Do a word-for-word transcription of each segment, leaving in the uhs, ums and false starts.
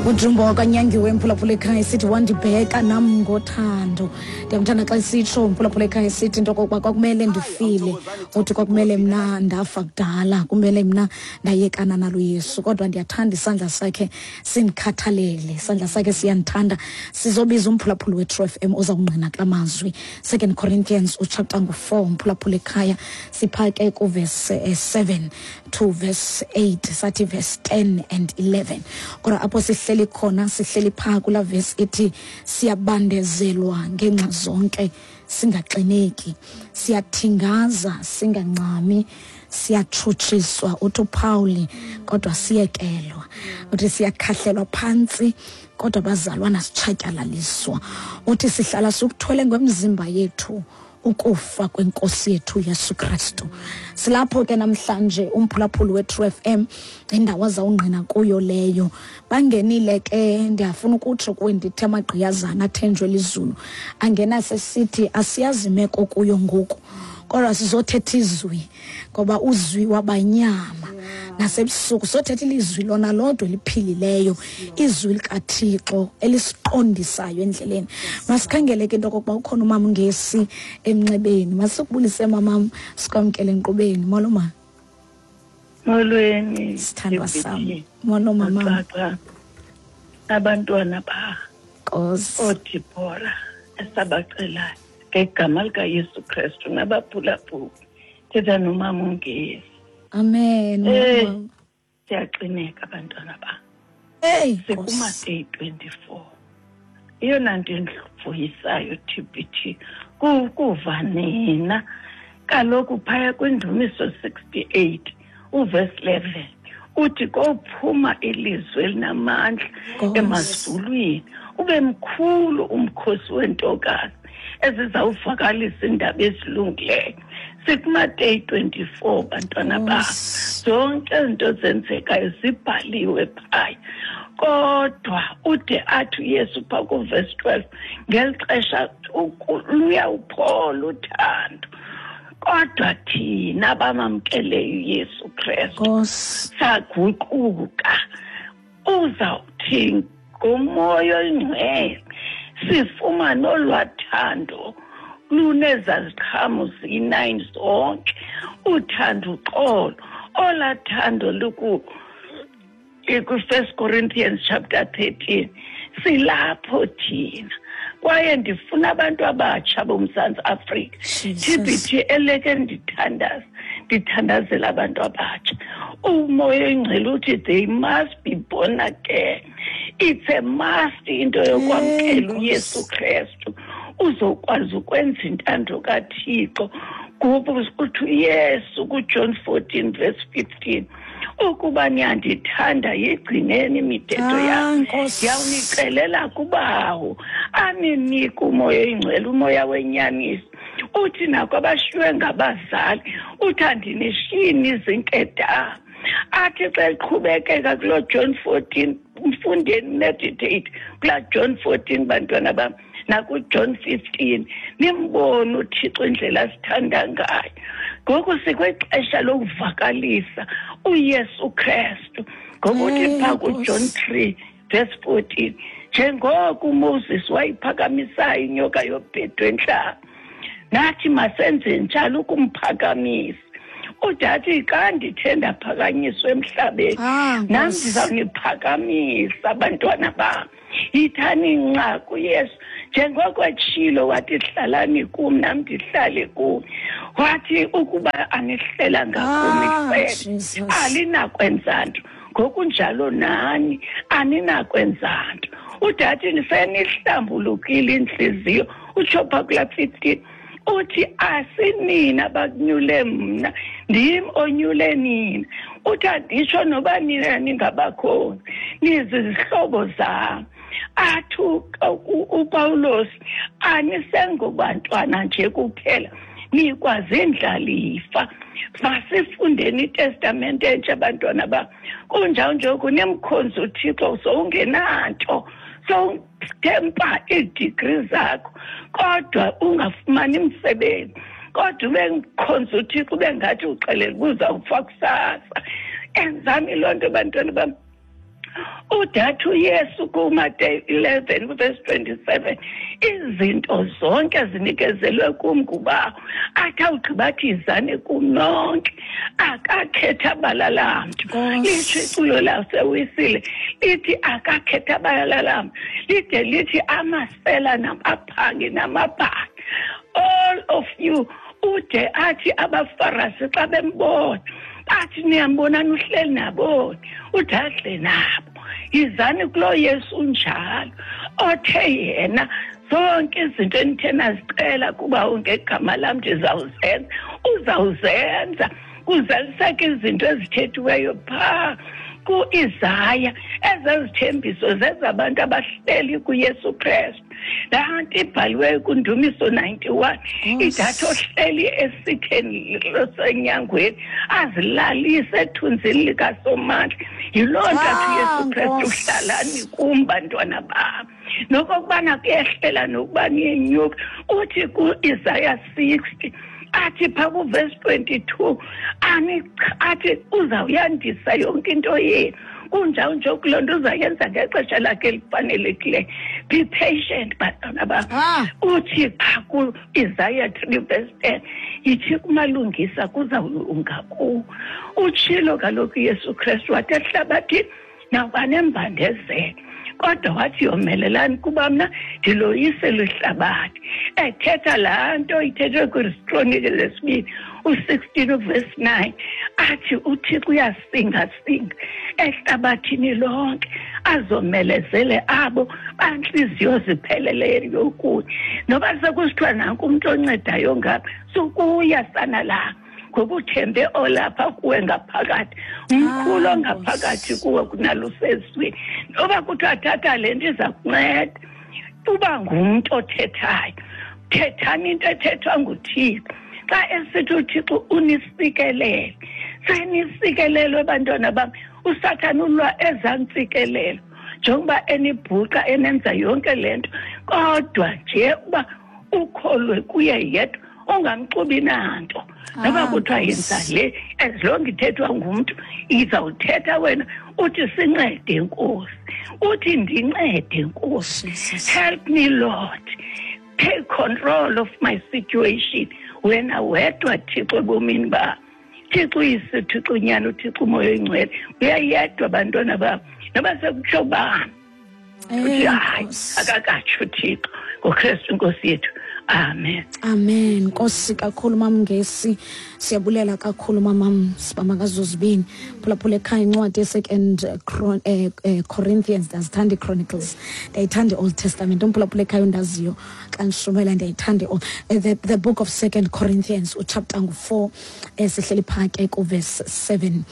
Ujumbo wakanyangiwe mphulaphula ekhaya sithi wandibheka nam ngothando. Ndiyamthanda xa sitsho mphulaphula ekhaya sithi into okokuba kwakumele ndifile, uthi kwakumele mna ndafa kudala, kumele mna ndayekana nalo Yesu, kodwa ndiyathanda isandla sakhe sindikhathalele, isandla sakhe siyandithanda. Sizobiza umphulaphuli we-True F M ozawungqina kula mazwi. Second Corinthians uchapter ngu-four mphulaphula ekhaya, siphake kuverse seven to verse eight, sathi verse ten and eleven. Kodwa apho sihleli khona, sihleli phaa kula verse ithi siyabandezelwa ngenxa zonke singaxineki, siyathingaza singancami, siyatshutshiswa uthi uPauli kodwa siyekelwa, uthi siyakhahlelwa phantsi kodwa bazalwana sitshatyalaliswa, uthi sihlala sikuthwele ngomzimba yethu ukufa kwenkosi yethu Yesu Kristu. Silapho ke namhlanje umphulaphuli we-True F M indawo azawungqina kuyo leyo. Bangenile ke, ndiyafuna ukutsho kuwe ndithi amagqiyazana athenjwe lizulu angena sesithi asiyazi imeko kuyo ngoku, kodwa sizothetha izwi ngoba uzwi wabanyama nasebusuku. Sothetha ilizwi lona lodwa eliphilileyo, izwi likaThixo elisiqondisayo endleleni. Masikhangele ke into okokuba ukhona umama uNgesi emnxebeni. Masikubulise mamam, sikwamkele enkqubeni. Molo ma. Molweni sithandwa sam. Molo mama. Abantwana ba Nkosi oDibora esabacelayo ngegama likaYesu Kristu nabaphulaphuli. Thetha nomama uNgesi. Amen. Hey, siyaxineka abantwana ba. Hey, sikumateyi twenty-four. Eyona nto endivuyisayo T B T kuva nina kaloku phaya kwindumiso sixty-eight uverse eleven uthi kophuma ilizwi elinamandla emazulwini, ube mkhulu umkhosi wentokazi ezizawuvakalisa iindaba ezilungileyo. Sikumateyi twenty-four bantwana ba. Zonke izinto zenzekayo zibhaliwe phaya. Kodwa ude athi uYesu phaa kuverse twelve ngeli xesha luyawuphola uthando, kodwa thina bamamkeleyo uYesu Kristu saguquka. Uzawuthi ngomoya oyingcwele sifumane olwathando lunezaziqhamo ziyi-nine zonke, uthando uxolo, olathando luku ku-First Corinthians chapter thirteen. Silapho thina kwaye ndifuna abantu abatsha boMzantsi Afrika. T B T eleke ndithandaza, ndithandazela abantu abatsha. Umoya oyingcwele uthi they must be born again. It's a must into yokwamkela uYesu Kristu uzokwazi ukwenza intando kaThixo. Ngoba uthi uYesu kuJohn fourteen verse fifteen, ukuba niyandithanda yigcineni imithetho yam, ndiyawunicelela kubawo aninike umoya oyingcwele, umoya wenyaniso. Uthi nako abashiywe ngabazali, uthi andinishiyi nizinkedama. Athi xa eqhubekeka kuloo John fourteen, mfundeni meditate kulaa John fourteen bantwana bam nakuJohn fifteen, nimbone uThixo indlela asithanda ngayo. Ngoku sikwixesha lokuvakalisa uYesu Kristu ngokuthi phaa kuJohn three verse fourteen, njengoko uMoses wayiphakamisayo inyoka yobhedu entlango, nathi masenze njalo ukumphakamisa. Udathi xa ndithe ndaphakanyiswa emhlabeni, nam ndizawuniphakamisa abantwana bam. Yithani nca kuYesu njengoko etshilo wathi hlalani kum nam ndihlale kum. Wathi ukuba anihlelanga kum icele alinakwenza nto, ngokunjalo nani aninakwenza nto. Udathi senihlambulukile intliziyo, utsho phaa kulaa fifteen uthi asinina abakunyule mna, ndim onyule nina. Uthi anditsho noba nina ningabakhona, nizizihlobo zam. Athi uPawulos anisengobantwana nje kuphela, nikwazindlalifa. Masifundeni iTestamente entsha abantwana bam. Kunjalo nje kunemkhonzi uThixo sowungenanto, sowuthempa iidigri zakho kodwa ungafumani msebenzi, kodwa ube mkhonzi uThixo ube ngathi uxelela uba uzawufa kusasa. Enzani loo nto bantwana bam. Udathi uYesu kuMateyu eleven verse twenty-seven, izinto zonke zinikezelwe kum nguBawo. Athi awugqiba athi yizani kum nonke, akakhetha bala lamntu. Litsho iculo laseWisile lithi akakhetha bala lamntu, lide lithi amasela namaphangi namabhaki, all of you. Ude athi abaFarasi xa bembona bathi niyambonani uhleli naboni, ude adle nabo. Yizani kulo Yesu unjalo, othe yena zonke izinto enithe nazicela kuba ngegama lam ndizawuzenza, uzawuzenza. Kuzaliseka izinto ezithethiweyo phaa ku-Isaya, ezezithembiso zezabantu abahleli kuYesu Kristu. Laa nto ibhaliweyo kuNdumiso ninety-one, idathi ohleli esitheni lwasenyangweni azilalise ethunzini likaSomandla. Yiloo nto athi uYesu Kristu, hlalani kum bantwana bam. Nokokubana kuyehlela nokuba niyenyuka. Uthi ku-Isaya sixty, athi phaa kuverse twenty-two, athi uzawuyandisa yonke into yenu. Kunjalo nje kuloo nto uzayenza ngexesha lakhe elifanelekileyo. Be patient bantwana bam. Uthi phaa ku-Isaya three verse ten, yithi kumalungisa kuzawulunga kuwo. Utshilo kaloku uYesu Kristu wathi ehlabathini nawuba nembandezelo, kodwa wathi yomelelani kuba mna ndiloyisele ihlabathi. Ethetha laa nto ithethwe kwiZikronike lesibini u-sixteen verse nine, athi uThixo uyasingasinga ehlabathini lonke azomelezele abo bantliziyo zipheleleyo kuye. Noba sekusithiwa nanku umntu oncedayo ngapha, sukuya sana la, ngoba uthembe olapha kuwe ngaphakathi, umkhulu ongaphakathi kuwe kunalusezweni. Noba kuthiwa thatha le nto iza kunceda, uba ngumntu othethayo, thethani into ethethwa nguThixo. Xa esithi uThixo unisikelele, senisikelelwe bantwana bam. USathana ulwa ezantsikelelo njengoba enibhuqa enenza yonke le nto, kodwa nje uba ukholwe kuye yedwa, ungamxubi nanto. Noba kuthiwa yenza le, as long ithethwa ngumntu, izawuthetha wena uthi sincede Nkosi, uthi ndincede Nkosi, help me Lord, take control of my situation. Wena wedwa Thixo ebomini bam. Thixo Uyise, Thixo uNyana, uThixo uMoya oyiNgcwele, uyayedwa bantwana bam. Noba sekutsho bani, uthi hayi akakatsho uThixo ngoKristu iNkosi yethu. Amen. Amen. Nkosi kakhulu Mamngesi, siyabulela kakhulu mamam sibamangazozibini. Phulaphula ekhaya incwadi yeSecond Corinthians, ndiyazithanda iChronicles, ndiyayithanda i-Old Testament. Umphulaphula ekhaya undaziyo xa ndishumela, ndiyayithanda the, the book of Second Corinthians, uchapter ngu-four, sihleli phaa ke kuverse seven.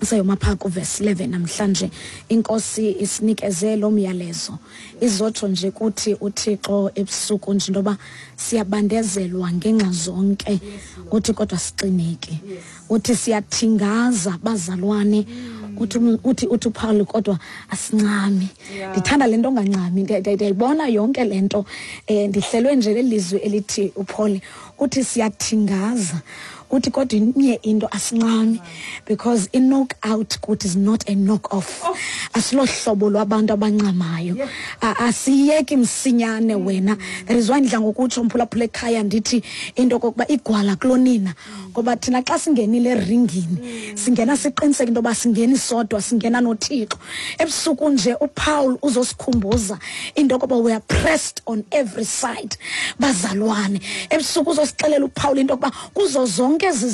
Sayoma phaa kuverse eleven namhlanje. Inkosi isinikeze lo myalezo. Izotsho nje kuthi uThixo ebusuku nje intoba siyabandezelwa ngenxa zonke, uthi kodwa sixineke. Uthi siyathingaza bazalwane, uthi uthi uthi uPaul kodwa asincami. Ndithanda le nto ongancami, ndiyayibona yonke le nto. Eh ndihlelwe nje lelizwi elithi uPaul uthi siyathingaza, uthi kodwa inye into asincami, because i knock out kuthi is not a knock off. Asilohlobo lwabantu abancamayo, asiyeki msinyane wena. That is why ndidla ngokutsho mphulaphula ekhaya ndithi into kokuba igwala kulonina, ngoba thina xa singenile eringini singena siqiniseke into yoba singeni sodwa, singena noThixo. Ebusuku nje uPaul uzosikhumbuza into yokuba we are pressed on every side bazalwane. Ebusuku uzosixelela uPaul into yokuba kuzo zonke ezi